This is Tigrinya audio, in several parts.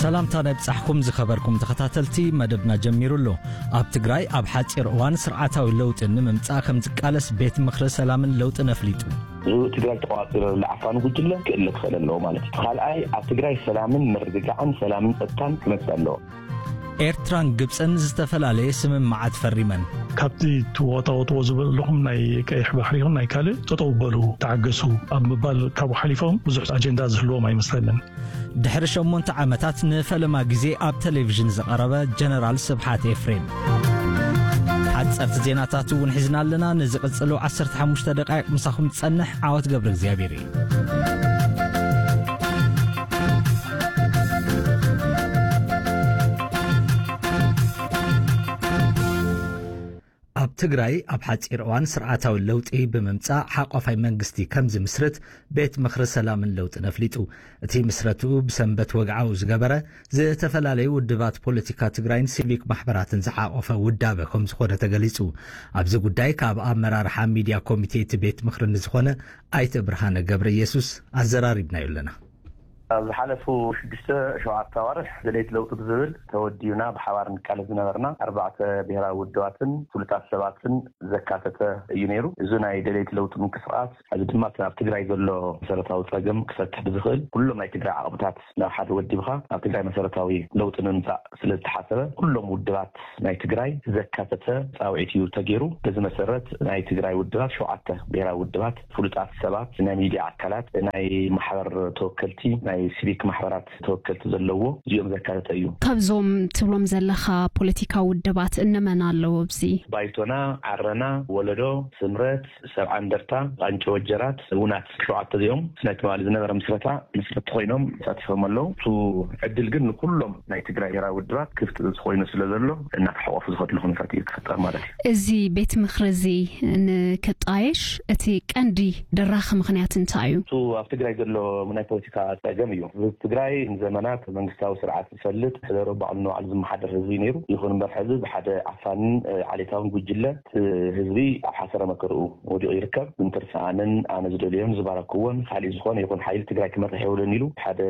ሰላምታ ናይ ብጻሕኩም ዝኸበርኩም ተኸታተልቲ፣ መደብና ጀሚሩ ኣሎ። ኣብ ትግራይ ኣብ ሓጺር እዋን ስርዓታዊ ለውጢ ንምምጻእ ከም ዝቃለስ ቤት ምኽሪ ሰላምን ለውጥን ኣፍሊጡ። እዚ ትግራይ ተቋፂሩ ዘሎ ዓፋኒ ጉጅለ ክእለ ክኽእል ኣለዎ ማለት እዩ። ካልኣይ፣ ኣብ ትግራይ ሰላምን ምርግጋዕን፣ ሰላምን ጸጥታን ክመጽእ ኣለዎ። ኤርትራን ግብጽን ዝተፈላለየ ስምምዓት ፈሪመን። ካብቲ ትወጣወጥዎ ዝበለኹም ናይ ቀይሕ ባሕሪ ይኹን ናይ ካልእ ጠጠው በሉ፣ ተዓገሱ ኣብ ምባል ካብኡ ሓሊፎም ብዙሕ ኣጀንዳ ዝህልዎም ኣይመስለንን። ድሕሪ ሸሞንተ ዓመታት ንፈለማ ግዜ ኣብ ቴሌቪዥን ዝቐረበ ጀነራል ስብሓት ኤፍሬም። ሓጸርቲ ዜናታት እውን ሒዝና ኣለና። ንዝቕጽሉ ዓሰርተ ሓሙሽተ ደቃይቕ ምሳኹም ዝጸንሕ ዓወት ገብረ እግዚኣብሔር እዩ። ኣብ ትግራይ ኣብ ሓጺር እዋን ስርዓታዊ ለውጢ ብምምጻእ ሓቋፋይ መንግስቲ ከም ዝምስርት ቤት ምኽሪ ሰላምን ለውጥን ኣፍሊጡ። እቲ ምስረትኡ ብሰንበት ወግዓዊ ዝገበረ ዝተፈላለዩ ውድባት ፖለቲካ ትግራይን ሲቪክ ማሕበራትን ዝሓቖፈ ውዳበ ከም ዝኾነ ተገሊጹ። ኣብዚ ጉዳይ ካብ ኣመራርሓ ሚድያ ኮሚቴ እቲ ቤት ምኽሪ ንዝኾነ ኣይተ ብርሃነ ገብረ ኢየሱስ ኣዘራሪብናዮ ኣለና። ኣብ ዝሓለፉ ሽዱሽተ ሸውዓተ ኣዋርሕ ደለይቲ ለውጢ ብዝብል ተወዲብና ብሓባር ንቃለስ ዝነበርና ኣርባዕተ ብሔራዊ ውድባትን ፍሉጣት ሰባትን ዘካተተ እዩ ነይሩ። እዚ ናይ ደለይቲ ለውጢ ምንቅስቃስ፣ እዚ ድማ እቲ ኣብ ትግራይ ዘሎ መሰረታዊ ጸገም ክፈትሕ ብዝኽእል ኩሎም ናይ ትግራይ ዓቕምታት ናብ ሓደ ወዲብኻ ኣብ ትግራይ መሰረታዊ ለውጢ ንምምጻእ ስለ ዝተሓሰበ፣ ኩሎም ውድባት ናይ ትግራይ ዘካተተ ጻውዒት እዩ ተገይሩ። በዚ መሰረት ናይ ትግራይ ውድባት፣ ሸውዓተ ብሔራዊ ውድባት፣ ፍሉጣት ሰባት፣ ናይ ሚድያ ኣካላት፣ ናይ ማሕበር ተወከልቲ፣ ናይ ሲቪክ ማሕበራት ተወከልቲ ዘለዎ እዚኦም ዘካተተ እዩ። ካብዞም ትብሎም ዘለኻ ፖለቲካዊ ውድባት እነመን ኣለዉ ኣብዚ? ባይቶና፣ ዓረና፣ ወለዶ፣ ስምረት፣ ሰብዓ እንደርታ፣ ቃንጨ ወጀራት፣ ውናት፣ ሸውዓተ እዚኦም ናይ ትማሊ ዝነበረ ምስረታ መስረቲ ኮይኖም ተሳቲፎም ኣለዉ። እሱ ዕድል ግን ንኩሎም ናይ ትግራይ ብሄራዊ ውድባት ክፍቲ ኮይኑ ስለ ዘሎ፣ እናተሓቆፉ ዝኸድሉ ኩነታት እዩ ክፍጠር ማለት እዩ። እዚ ቤት ምኽሪ እዚ ንክጣየሽ እቲ ቀንዲ ደራኺ ምኽንያት እንታይ እዩ? እሱ ኣብ ትግራይ ዘሎ ናይ ፖለቲካ ጸገም እዩ። ህዝቢ ትግራይ ንዘመናት መንግስታዊ ስርዓት ዝፈልጥ፣ ሕደሮ ባዕሉ ንባዕሉ ዝመሓደር ህዝቢ ነይሩ። ይኹን እምበር ሕዚ ብሓደ ዓፋንን፣ እ፣ ዓሌታውን ጉጅለ እቲ ህዝቢ ኣብ ሓሰረ መከርኡ ወዲቑ ይርከብ። እንትርሰኣንን ኣነ ዝደልዮን ዝባረክዎን ካሊእ ዝኾነ ይኹን ሓይሊ ትግራይ ክመርሕ የብሉን ኢሉ ሓደ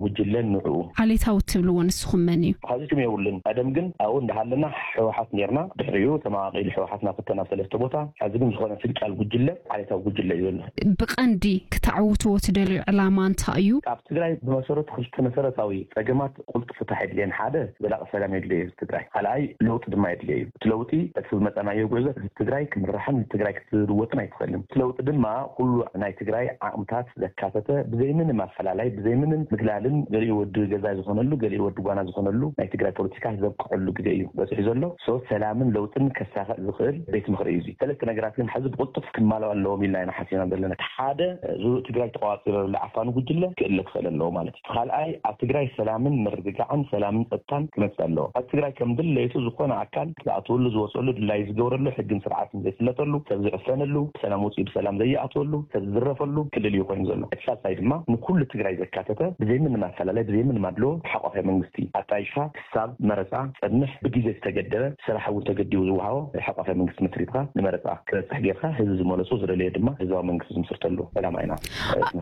ጉጅለን ንዕኡ። ዓሌታዊ እትብልዎ ንስኹም መን እዩ? ካብዚ ሽም የብሉን። ቀደም ግን ኣብኡ እንዳሃለና ህወሓት ኔርና። ድሕሪኡ ተመቓቒሉ ህወሓት ናብ ክልተ ናብ ሰለስተ ቦታ። ሕዚ ግን ዝኾነ ፍንጫል ጉጅለ ዓሌታዊ ጉጅለ እዩ ዘሎ። ብቐንዲ ክተዕውትዎ ትደልዩ ዕላማ እንታይ እዩ? ኣብ ትግራይ ብመሰረቱ ክልተ መሰረታዊ ጸገማት ቁልጡፍ ፍታሕ የድልየን። ሓደ፣ ዘላቂ ሰላም የድልዮ እዩ ትግራይ። ካልኣይ፣ ለውጢ ድማ የድልዮ እዩ። እቲ ለውጢ በቲ ዝመጸናዮ ጉዕዞ ህዝቢ ትግራይ ክምራሕን ትግራይ ክትልወጥን ኣይትኽእልን። እቲ ለውጢ ድማ ኩሉ ናይ ትግራይ ዓቕምታት ዘካተተ፣ ብዘይ ምንም ኣፈላላይ፣ ብዘይ ምንም ምግላልን፣ ገሊኡ ወዲ ገዛ ዝኾነሉ፣ ገሊኡ ወዲ ጓና ዝኾነሉ ናይ ትግራይ ፖለቲካ ዘብቅዐሉ ግዜ እዩ በፂሑ ዘሎ። ሶ ሰላምን ለውጥን ከሳኸዕ ዝኽእል ቤት ምኽሪ እዩ። እዚ ሰለስተ ነገራት ግን ሕዚ ብቕልጡፍ ክማልኡ ኣለዎም ኢልና ኢና ሓሲብና ዘለና። ሓደ፣ እዚ ትግራይ ተቋፂሩ ዘሎ ዓፋኒ ጉጅለ ክእለ ክኽእል ኣለዎ ማለት እዩ። ካልኣይ፣ ኣብ ትግራይ ሰላምን ምርግጋዕን፣ ሰላምን ጸጥታን ክመጽእ ኣለዎ። ኣብ ትግራይ ከም ድሌቱ ዝኾነ ኣካል ዝኣትወሉ ዝወፅሉ ድላዩ ዝገብረሉ ሕግን ስርዓትን ዘይፍለጠሉ፣ ሰብ ዝዕፈነሉ፣ ብሰላም ወፂኡ ብሰላም ዘይኣትወሉ፣ ሰብ ዝዝረፈሉ ክልል እዩ ኮይኑ ዘሎ። እቲ ሳልሳይ ድማ ንኩሉ ትግራይ ዘካተተ ብዘይ ምንም ኣፈላላይ ብዘይ ምንም ኣድሎ ሓቋፋይ መንግስቲ ኣጣይሽካ ክሳብ መረፃ ጸንሕ ብግዜ ዝተገደበ ስራሕ እውን ተገዲቡ ዝወሃቦ ሓቋፋይ መንግስቲ መስሪትካ ንመረፃ ክበፅሕ ጌርካ ህዝቢ ዝመለሶ ዝደለዮ ድማ ህዝባዊ መንግስቲ ዝምስርተሉ ዕላማ ኢና።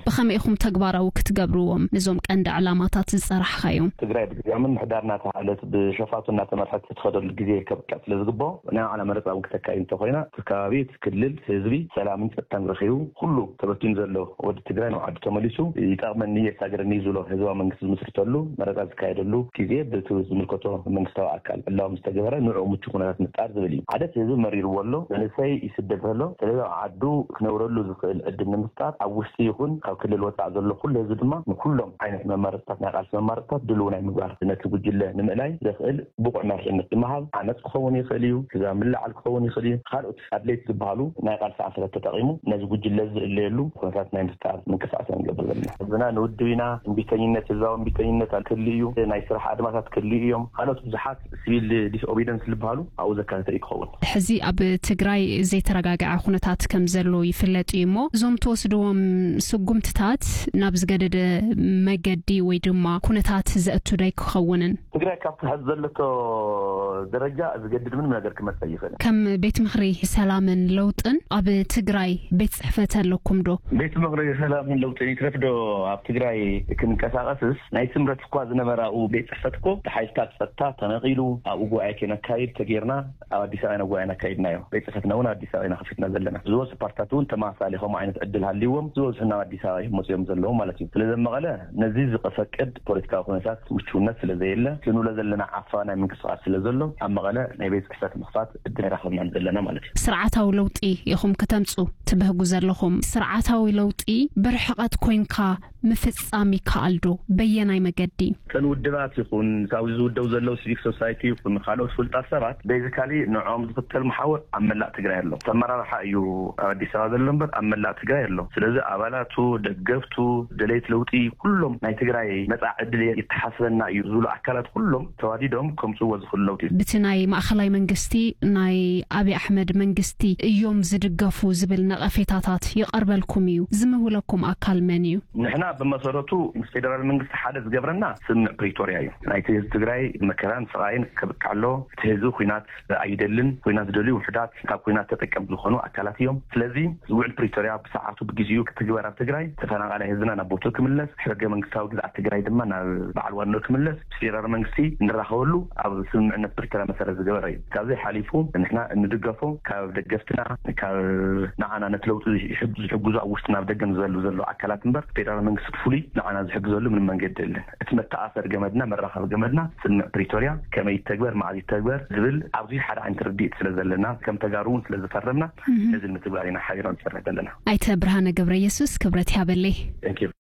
ብኸመይ ኢኹም ተግባራዊ ክትገብርዎም ነዞም ቀንዲ ዕላማታት ዝፀራሕኻዮም? ትግራይ ብግዜያ ምምሕዳር እናተሃለት ብሸፋቱ እናተመርሐት እትኸደሉ ግዜ ከብቅዕ ስለ ዝግብኦ ናይ ባዕላ መረፃ እውን ክተካይ እንተኮይና እቲ ከባቢ፣ እቲ ክልል፣ ህዝቢ ሰላምን ጸጥታን ረኺቡ ኩሉ ተበቲኑ ዘሎ ወዲ ትግራይ ናብ ዓዱ ተመሊሱ ይጠቕመኒ የሳግረኒ ዝብሎ ህዝባዊ መንግስቲ ዝምስርተሉ መረፃ ዝካየደሉ ግዜ ብቲ ዝምልከቶ መንግስታዊ ኣካል ዕላዊ ምስ ተገበረ ንዕኡ ምቹ ኩነታት ምፍጣር ዝብል እዩ። ሓደ እቲ ህዝቢ መሪርዎ ኣሎ፣ መንእሰይ ይስደድ ኣሎ። ስለዚ ኣብ ዓዱ ክነብረሉ ዝኽእል ዕድል ንምፍጣር ኣብ ውሽጢ ይኹን ካብ ክልል ወፃእ ዘሎ ኩሉ ህዝቢ ድማ ንኩሎም ዓይነት መማረፅታት ናይ ቃልሲ መማረፅታት ድልው ናይ ምግባር ነቲ ጉጅለ ንምእላይ ዘኽእል ብቑዕ መሪሕነት ብምሃብ ዓመፅ ክኸውን ይኽእል እዩ፣ ህዝባዊ ምልዕዓል ክኸውን ይኽእል እዩ። ካልኦት ኣድለይቲ ዝበሃሉ ናይ ቃልሲ ዓንሰለት ተጠቒሙ ነዚ ጉጅለ ዝእለየሉ ኩነታት ናይ ምፍጣር ምንቅስቃስ ኢና ንገብር ዘለና። ህዝብና ንውድብ ኢና፣ እምቢተኝነት፣ ህዝባዊ እምቢተኝነት ክህሉ እዩ፣ ናይ ስራሕ ኣድማታት ክህሉ እዮም። ካልኦት ብዙሓት ሲቪል ዲስኦቢደንስ ዝበሃሉ ኣብኡ ዘካተተ እዩ ክኸውን። ሕዚ ኣብ ትግራይ ዘይተረጋግዐ ኩነታት ከም ዘሎ ይፍለጥ እዩ እሞ እዞም ትወስድዎም ስጉምትታት ናብ ዝገደደ መገዲ ወይ ድማ ኩነታት ዘእቱ ዶ ኣይክኸውንን? ትግራይ ካብቲ ሀዚ ዘለቶ ደረጃ ዝገድድ ምንም ነገር ክመጽእ ይኽእል። ከም ቤት ምኽሪ ሰላምን ለውጥን ኣብ ትግራይ ቤት ጽሕፈት ኣለኩም ዶ? ቤት ምኽሪ ሰላምን ለውጥን ይትረፍ ዶ ኣብ ትግራይ ክንቀሳቐስስ ናይ ስምረት እኳ ዝነበረ ኣብኡ ቤት ጽሕፈት እኮ ብሓይልታት ጸጥታ ተነቒሉ ኣብኡ ጉባኤ ከነካይድ ተጌርና ኣብ ኣዲስ ኣበባ ኢና ጉባኤ ነካይድናዮ። ቤት ጽሕፈትና እውን ኣዲስ ኣበባ ኢና ከፊትና ዘለና። ዝበዝሑ ፓርትታት እውን ተመሳሳሊ ከምኡ ዓይነት ዕድል ሃልይዎም ዝበዝሑ ናብ ኣዲስ ኣበባ እዮም መፅኦም ዘለዉ ማለት እዩ። ስለዚ ኣብ መቐለ ነዚ ዝፈቅድ ፖለቲካዊ ኩነታት ምቹውነት ስለዘየለ ክንብሎ ዘለና ዓፋ ናይ ምንቅስቃስ ስለዘሎ ኣብ መቐለ ናይ ቤት ፅሕፈት ምኽፋት ዕድል ኣይረኸብናን ዘለና ማለት እዩ። ስርዓታዊ ለውጢ ኢኹም ክተምፁ ትብህጉ ዘለኹም። ስርዓታዊ ለውጢ ብርሕቐት ኮይንካ ምፍፃም ይከኣል ዶ? በየናይ መገዲ? እተን ውድባት ይኹን ካብዚ ዝውደቡ ዘለዉ ሲቪክ ሶሳይቲ ይኹን ካልኦት ፍሉጣት ሰባት basically ንዕኦም ዝኽተል መሓውር ኣብ መላእ ትግራይ ኣሎ። እቲ ኣመራርሓ እዩ ኣብ ኣዲስ ኣበባ ዘሎ እምበር ኣብ መላእ ትግራይ ኣሎ። ስለዚ ኣባላቱ፣ ደገፍቱ፣ ደለይቲ ለውጢ ኩሎም ናይ ትግራይ መፃኢ ዕድል የተሓስበና እዩ ዝብሉ ኣካላት ኩሎም ተዋዲዶም ከምፅዎ ዝኽእሉ ለውጢ እዩ። ብቲ ናይ ማእኸላይ መንግስቲ ናይ ኣብይ ኣሕመድ መንግስቲ እዮም ዝድገፉ ዝብል ነቐፌታታት ይቐርበልኩም እዩ። ዝምህውለኩም ኣካል መን እዩ? ንሕና ብመሰረቱ ምስ ፌደራል መንግስቲ ሓደ ዝገብረና ስምምዕ ፕሪቶርያ እዩ። ናይቲ ህዝቢ ትግራይ መከራን ስቓይን ከብቅዕ ኣሎ። እቲ ህዝቢ ኩናት ኣይደልን። ኩናት ዝደልዩ ውሑዳት ካብ ኩናት ተጠቀምቲ ዝኾኑ ኣካላት እዮም። ስለዚ ውዕል ፕሪቶርያ ብሰዓቱ ብግዜኡ ክትግበር ኣብ ትግራይ፣ ተፈናቓላይ ህዝብና ናብ ቦትኡ ክምለስ፣ ሕገ መንግስታዊ ግዝኣት ትግራይ ድማ ናብ በዓል ዋንኡ ክምለስ፣ ምስ ፌደራል መንግስቲ እንራኸበሉ ኣብ ስምምዕነት ፕሪቶርያ መሰረት ዝገበረ እዩ። ካብዚ ሓሊፉ ንሕና እንድገፎ ካብ ደገፍትና፣ ካብ ንዓና ነቲ ለውጢ ዝሕግ- ዝሕግዙ ኣብ ውሽጥን ኣብ ደገን ዝዘሉ ዘለዉ ኣካላት እምበር ፌደራል መንግስቲ ብፍሉይ ንዓና ዝሕግዘሉ ምንም መንገዲ የለን። እቲ መተኣሰሪ ገመድና፣ መራኸቢ ገመድና ስምምዕ ፕሪቶርያ ከመይ ይተግበር፣ መዓዝ ይተግበር ዝብል ኣብዚ ሓደ ዓይነት ርድኢት ስለ ዘለና ከም ተጋሩ እውን ስለ ዝፈረምና ነዚ ንምትግባር ኢና ሓቢርና ንሰርሕ ዘለና። ኣይተ ብርሃነ ገብረየሱስ ክብረት ይሃበለይ። Thank you።